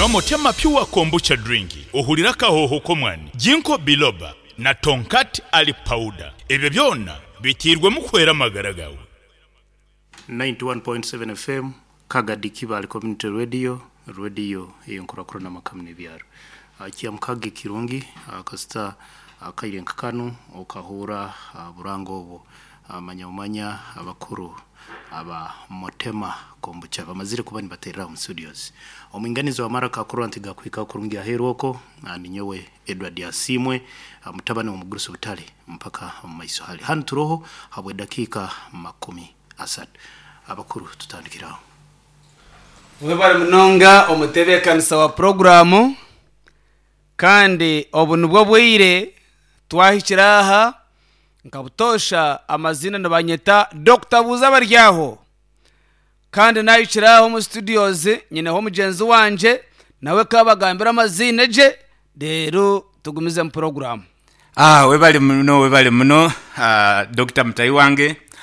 Nywa Motema Pure Kombucha Drink ohurire akahooho k'omwani, Ginkgo Biloba na Tongkat Ali Powder. Ebyo byona biteirwemu kuhwera amagara gaawe. 91.7 FM, Kagadi Kibaale Community Radio, rwediyo ey'enkurakurana amaka n'ebyaro. Kyamukaga ekirungi kasita akaire nka kanu okahuura buranga obwo. Manya omanya abakuru aba Motema Kombucha bamazire kuba nibaterera omu studios. Omwinganizi wa maraka akurora nti gakuhika kurungi aheeru oko ninyowe Edward Asiimwe mutabani w'omugurusi Butare mpaka omu maiso hali. Hanu turoho habw'edakiika 30. Abakuru tutandikire aho. Webare munonga omutebeekanisa wa puroguraamu kandi obu nibwo bwire twahikire aha nka butoosha amaziina nibanyeta Dokita Buuza Baryaho kandi nahikire aha omu studios nyineho mugyenzi wangye nawe kabagambire amaziina gye reero tugumizemu puroguraamu. Ah, webale muno webale muno ah, Dokita mutahi wange.